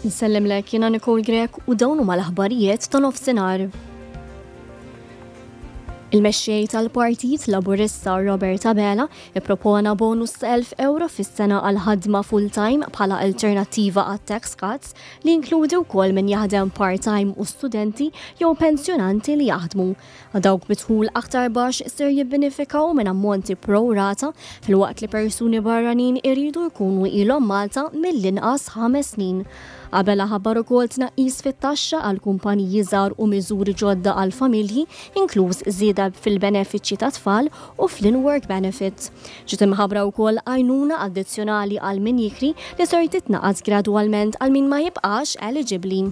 Nsellimlek jiena Nicole Grech u dawn huma l-aħbarijiet ta' nofsinhar. Il-mexxej tal-Partit Laburista Robert Abela ippropona bonus ta' 1,000 ewro fis-sena għal ħadma full-time bħala alternattiva għat-tax cuts li jinkludi wkoll min jaħdem part-time u studenti jew pensjonanti li jaħdmu. Dawk bi dħul aktar baxx ser jibbenefikaw minn ammonti pro rata filwaqt li persuni barranin iridu jkunu ilhom Malta mill-inqas ħames snin. Abela ħabbar ukoll tnaqqis fit-taxxa għal kumpaniji żgħar u miżuri ġodda għal familji, inkluż żieda fil-benefiċċji tat-tfal u fl-in-work benefit. Ġiet imħabbra wkoll għajnuna addizzjonali għal min jikri li ser titnaqqas gradwalment għal min ma jibqax eliġibbli.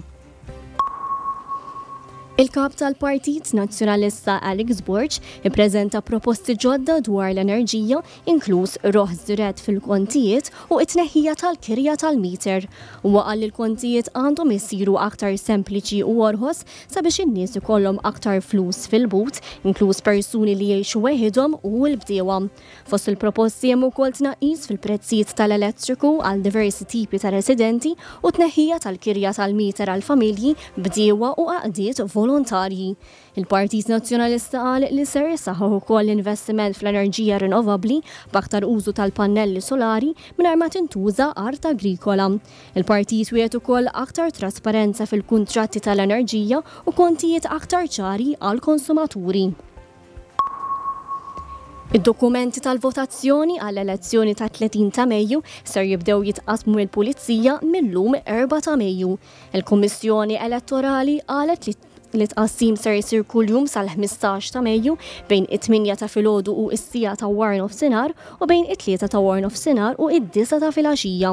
Il-Kap tal-Partit Nazzjonalista Alex Borg ippreżenta proposti ġodda dwar l-enerġija, inkluż roħs dirett fil-kontijiet u t-tneħħija tal-kirja tal-meter. Huwa qal li l-kontijiet għandhom isiru aktar sempliċi u orħos sabiex in-nies ikollhom aktar flus fil-but, inkluż persuni li jgħixu weħidhom u l-bdiewa. Fost il-proposti hemm ukoll tnaqqis fil-prezzijiet tal-elettriku għal diversi tipi ta' residenti u tneħħija tal-kirja tal-meter għal familji, bdiewa u għaqdiet volontarji. Il-Partit Nazzjonalista qal li ser isaħħaħ ukoll l-investiment fl-enerġija rinnovabbli b'aktar użu tal-pannelli solari mingħajr ma tintuża art agrikola. Il-partit wiegħed ukoll aktar trasparenza fil-kuntratti tal-enerġija u kontijiet aktar ċari għall-konsumaturi. Id-dokumenti tal-votazzjoni għall-elezzjoni tat-30 ta' Mejju ser jibdew jitqassmu mill-Pulizija mil-lum 4 ta' Mejju. Il-Kummissjoni Elettorali qalet li li tqassim ser jsir kuljum sal-15 ta' Mejju bejn it-8 ta' filgħodu u s-siegħa ta' waranofsinhar u bejn it-tlieta ta' waranofsinhar u id-disgħa ta' filgħaxija.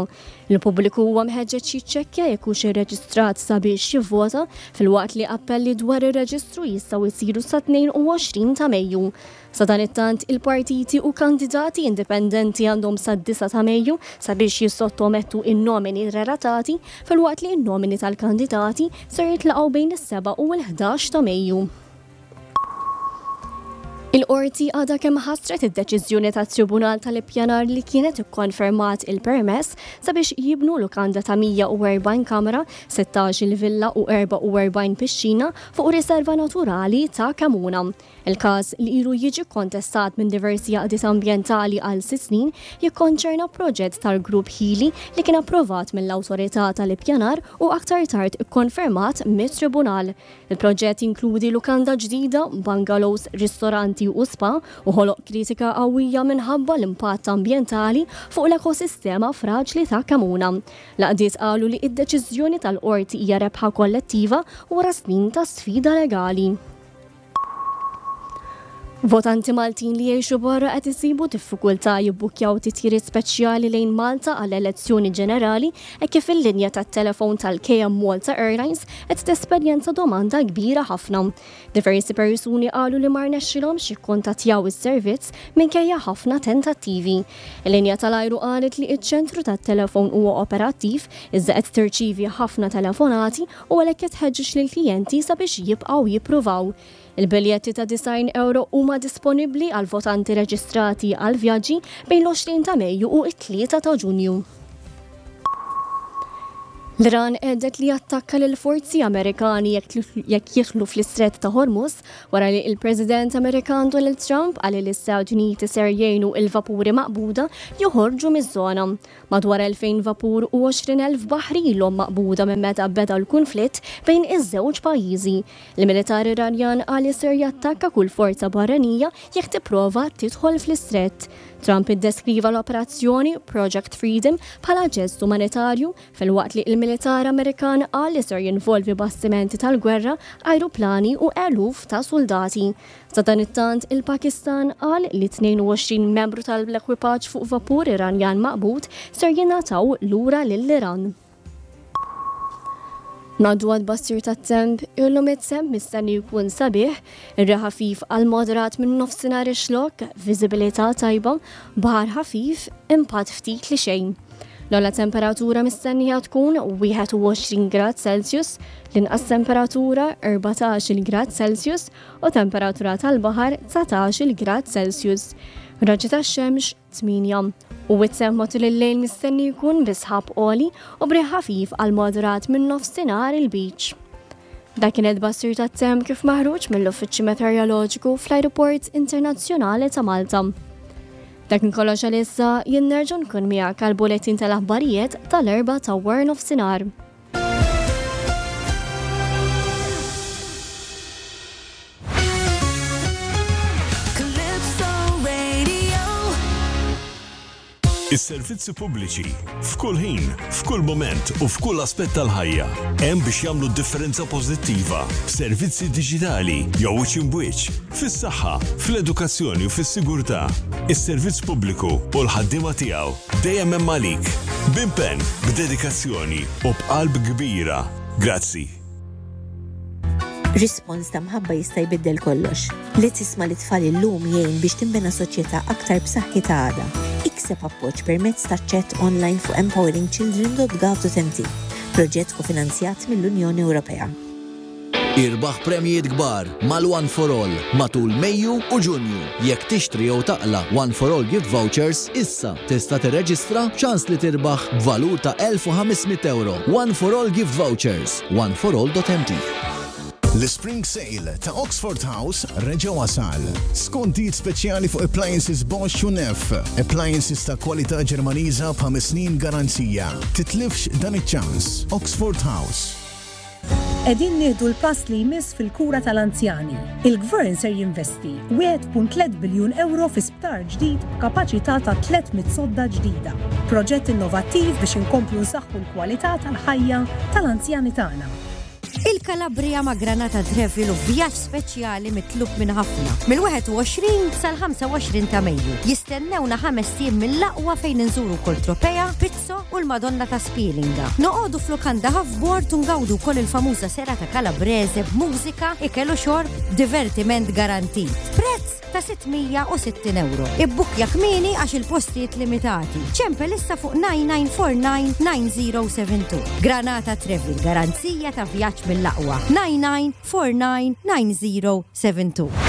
Il-pubbliku huwa mħeġġeġ jiċċekkja jekk hux irreġistrat sabiex jivvota, filwaqt li appelli dwar ir-reġistru jistgħu jsiru sat-22 ta' Mejju. Sadanittant, il-partiti u kandidati indipendenti għandhom sad-disgħa ta' Mejju sabiex jissottomettu n-nomini relatati, filwaqt li n-nomini tal-kandidati ser jitlaqgħu bejn is-sebgħa u l-ħdax ta' Mejju. Il-Qorti għadha kemm ħassret id-deċiżjoni tat-Tribunal tal-Ippjanar li kienet ikkonfermat il-permess sabiex jibnu lukanda ta' 140 kamra, 16-il villa u 44 pixxina fuq riserva naturali ta' Kemuna. Il-każ, li ilu jiġi kkontestat minn diversi għaqdiet ambjentali għal sitt snin, jikkonċerna proġett tal-Grupp Hili li kien approvat mill-Awtorità tal-Ippjanar u aktar tard ikkonfermat mit-Tribunal. Il-proġett jinkludi lukanda ġdida, bungalows, ristoranti u spa u ħoloq kritika qawwija minħabba l-impatt ambjentali fuq l-ekosistema fraġli ta' Kemuna. L-għaqdiet qalu li d-deċiżjoni tal-Qorti hija rebħa kollettiva wara snin ta' sfida legali. Votanti Maltin li jgħixu barra qed isibu diffikultà jibbukkjaw titjiriet speċjali lejn Malta għall-elezzjoni ġenerali hekk kif il-linja tat-telefon tal-KM Malta Airlines qed tesperjenza domanda kbira ħafna. Diversi persuni qalu li ma rnexxilhomx jikkuntattjaw is-servizz minkejja ħafna tentattivi. Il-linja tal-ajru qalet li ċ-ċentru tat-telefon huwa operattiv iżda qed tirċievi ħafna telefonati u għalhekk qed tħeġġeġ lill-klijenti sabiex jibqgħu jippruvaw. Il-biljetti ta' 90 ewro huma disponibbli għal votanti reġistrati għal vjaġġi bejn l-20 ta' Mejju u t-3 ta' Ġunju. L-Iran għedet li jattakka lil forzi Amerikani jekk jidħlu fl-Istrett ta' Hormuz wara li l-President Amerikan Donald Trump qal li l-Istati Uniti ser jgħinu il-vapuri maqbuda joħorġu miż-żona. Madwar 2,000 vapur u 20,000 baħri ilhom maqbuda minn meta beda l-kunflitt bejn iż-żewġ pajjiżi. Il-militar Iranjan qal li ser jattakka kull forza barranija jekk tipprova tidħol fl-istrett. Trump iddeskriva l-operazzjoni Project Freedom bħala ġest umanitarju filwaqt li l-militar Amerikan qal li ser jinvolvi bastimenti tal-gwerra, ajruplani u eluf ta' suldati. Sadanittant, il-Pakistan qal li 22 membru tal-ekwipaġġ fuq vapur Iranjan maqbud ser jingħataw lura lill-Iran. Ngħaddu għat-tbassir tat-temp, illum it-temp mistenni jkun sabiħ, ir-riħ ħafif għal moderat minn nofsinhar ix-Xlokk, viżibilità tajba, baħar ħafif, impatt ftit li xejn. L-ogħla temperatura mistennija tkun 21 grad Celsius, l-inqas temperatura 14-il grad Celsius u temperatura tal-baħar 19-il grad Celsius. Raġġi tax-xemx 8. U it-temp matul il-lejl mistenni jkun bi sħab għoli u b'riħ ħafif għal moderat minn nofsinhar il-Lbiċ. Dak kien it-tbassir tat-temp kif maħruġ mill-Uffiċċju Meteoroloġiku fl-Ajruport Internazzjonali ta' Malta. Dak kien kollox għalissa, jien nerġa' nkun miegħek għall-bulettin tal-aħbarijiet tal-Erbgħa ta' waranofsinhar. Calypso Radio. Is-servizzi pubbliċi, f'kull ħin, f'kull mument u f'kull aspett tal-ħajja, hemm biex jagħmlu differenza pożittiva b'servizzi diġitali jew wiċċ imb'wiċċ, fis-saħħa, fl-edukazzjoni u fis-sigurtà. Is-servizz pubbliku u l-ħaddiema tiegħu Dejjem hemm għalik. B'impenn, b'dedikazzjoni u b'qalb kbira. Grazzi. Rispons ta' mħabba jista' jbiddel kollox. Li tisma' lit-tfal illum jgħin biex tinbena soċjetà aktar b'saħħitha għada. Ikseb appoġġ permezz ta' chat online fuq empoweringchildren.gov.mt. Proġett kofinanzjat mill-Unjoni Ewropea. Irbaħ premjijiet kbar mal-One for All matul Mejju u Ġunju. Jekk tixtri jew taqla' One for All gift vouchers issa, tista' tirreġistra b'ċans li tirbaħ b'valur ta' 1,500 ewro. One for All gift vouchers, oneforall.mt. L-Spring Sale ta' Oxford House reġa' wasal. Skontijiet speċjali fuq appliances Bosch u Neff. Appliances ta' kwalità Ġermaniża b'ħames snin garanzija. Titlifx dan iċ-ċans. Oxford House. Qegħdin nieħdu l-pass li jmiss fil-kura tal-anzjani. Il-Gvern ser jinvesti 1.3 biljun ewro fi sptar ġdid b'kapaċità ta' 300 sodda ġdida. Proġett innovattiv biex inkomplu nsaħħu l-kwalità tal-ħajja tal-anzjani tagħna. Il-Calabria ma' Granata Travel u vjaġġ speċjali mitlub minn ħafna. Mill-21 sal-25 ta' Mejju. Jistennewna ħamest ijiem mill-aqwa fejn inżuru wkoll Tropea, Pizzo u l-Madonna ta' Spilinga. Noqogħdu f'lukanda half-board u ngawdu wkoll il-famuża serata Calabrese b'mużika, ikel u xorb, divertiment garantit. Prezz ta' 660 ewro. Ibbukkja kmieni għax il-postijiet limitati. Ċempel issa fuq 9949 9072. Granata Travel, garanzija ta' vjaġġ mill-aqwa. 9949 9072.